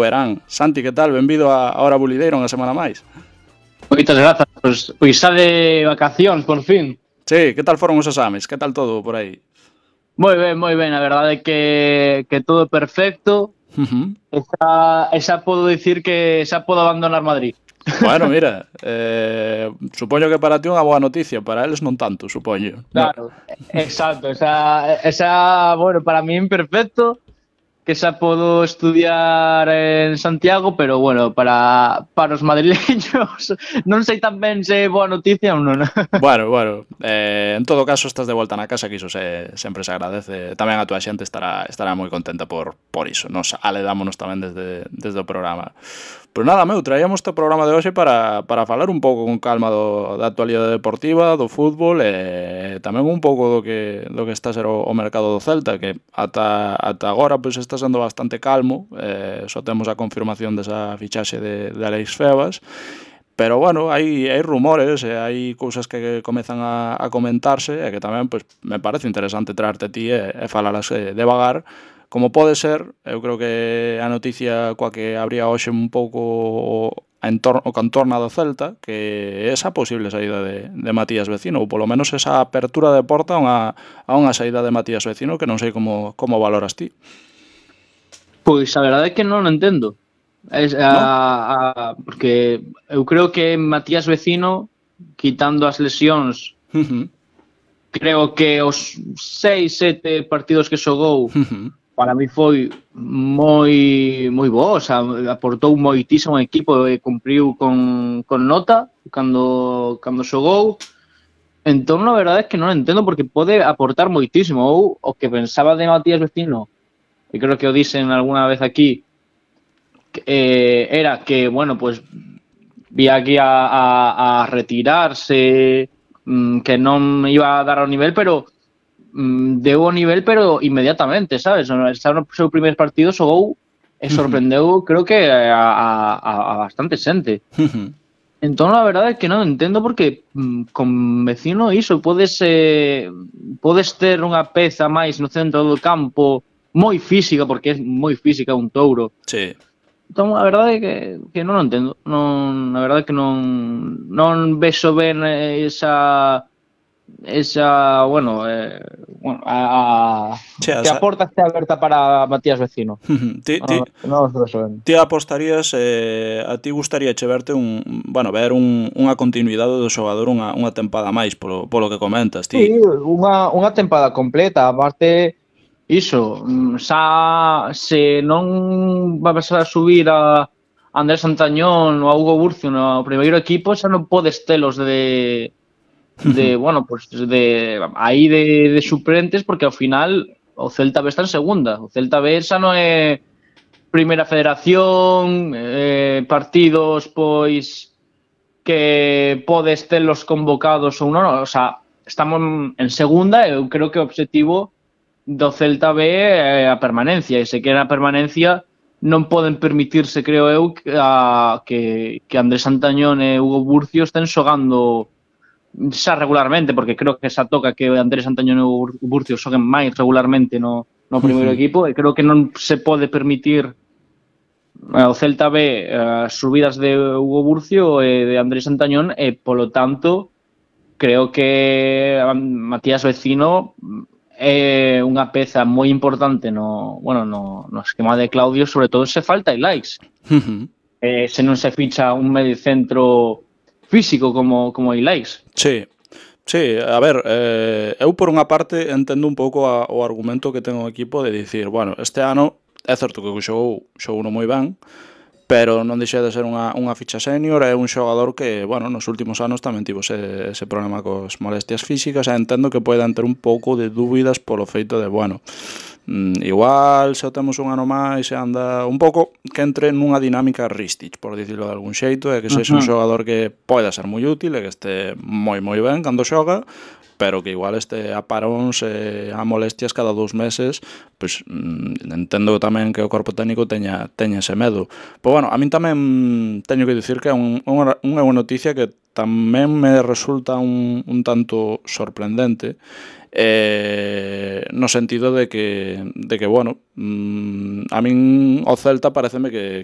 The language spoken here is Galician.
verán. Santi, que tal? Benvido a Hora Bulideira unha semana máis. Moitas grazas, pois xa de vacacións, por fin. Sí, que tal foron os exames? Que tal todo por aí? Moi ben, a verdade é que todo perfecto. Xa podo dicir que xa podo abandonar Madrid. Bueno, mira, supoño que para ti unha boa noticia, para eles non tanto, supoño. Claro, exacto, esa, bueno, para min perfecto, que xa podo estudiar en Santiago, pero bueno, para os madrileños non sei tan ben se é boa noticia ou non. Bueno, en todo caso estás de volta na casa, que iso sempre se agradece. Tamén a túa xente estará moi contenta por iso. Nos aledámonos tamén desde o programa. Pois nada, traíamos este programa de hoxe para falar un pouco con calma da actualidade deportiva, do fútbol e tamén un pouco do que está a ser o mercado do Celta, que ata agora pois está sendo bastante calmo. Só temos a confirmación desa fichaxe de Alex Febas. Pero bueno, hai rumores e hai cousas que comezan a comentarse e que tamén pois, me parece interesante traerte a ti e falalas devagar. Como pode ser, eu creo que a noticia coa que habría hoxe un pouco o contorno do Celta, que é esa posible saída de Matías Vecino, ou polo menos esa apertura de porta a unha saída de Matías Vecino que non sei como valoras ti. Pois a verdade é que non o entendo. Porque eu creo que Matías Vecino, quitando as lesións, creo que os 6-7 partidos que xogou para mí foi moi bo, o sea, aportou moitísimo ao equipo e cumpriu con nota cando xogou. Entón, a verdade é que non entendo porque pode aportar moitísimo. Ou o que pensaba de Matías Vecino, e creo que o dixen algunha vez aquí, era que, bueno, pues vía aquí a retirarse, que non iba a dar o nivel, pero deu o nivel, pero inmediatamente, sabes? Está no seu primer partido, xogou e sorprendeu, creo que a bastante xente. Entón, a verdade é que non entendo porque con Vecino iso podes ter unha peza máis no centro do campo moi física, porque é moi física un touro. Sí. Entón, a verdade é que non o entendo. A verdade é que non vexo ben esa bueno, que a porta este aberta para Matías Vecino. Non os vexo ben. Ti apostarías, a ti gustaríache verte ver unha continuidade do xogador unha tempada máis polo que comentas, ti? Sí, unha tempada completa, aparte iso, xa se non vas a subir a Andrés Santañón ou a Hugo Burcio no primeiro equipo, xa non podes telos bueno, pues de suplentes, porque ao final o Celta B está en segunda. O Celta B xa non é primeira federación, partidos pois que podes telos convocados ou non, o sea, estamos en segunda e eu creo que o obxectivo do Celta B é a permanencia, e se quere a permanencia non poden permitirse, creo eu, que Andrés Santañón e Hugo Burcio estén xogando xa regularmente, porque creo que xa toca que Andrés Santañón e Hugo Burcio xoguen máis regularmente no primeiro equipo, e creo que non se pode permitir o Celta B as subidas de Hugo Burcio e de Andrés Santañón, e polo tanto creo que Matías Vecino é unha peza moi importante no esquema de Claudio, sobre todo se falta Ilaix. Se non se ficha un medio centro físico como Ilaix. Sí, a ver, eu por unha parte entendo un pouco o argumento que ten o equipo de dicir, bueno, este ano é certo que xogou moi ben, pero non deixa de ser unha ficha senior, é un xogador que, bueno, nos últimos anos tamén tivo ese problema cos molestias físicas, e entendo que poidan ter un pouco de dúbidas polo feito de, bueno, igual se o temos un ano máis e anda un pouco que entre nunha dinámica Ristich, por dicirlo de algún xeito, e que sexa un xogador que poida ser moi útil e que este moi ben cando xoga, pero que igual este a paróns e a molestias cada 2 meses, pois entendo tamén que o corpo técnico teña ese medo. Pois bueno, a min tamén teño que dicir que é unha noticia que tamén me resulta un tanto sorprendente, no sentido de que bueno, a min o Celta pareceme que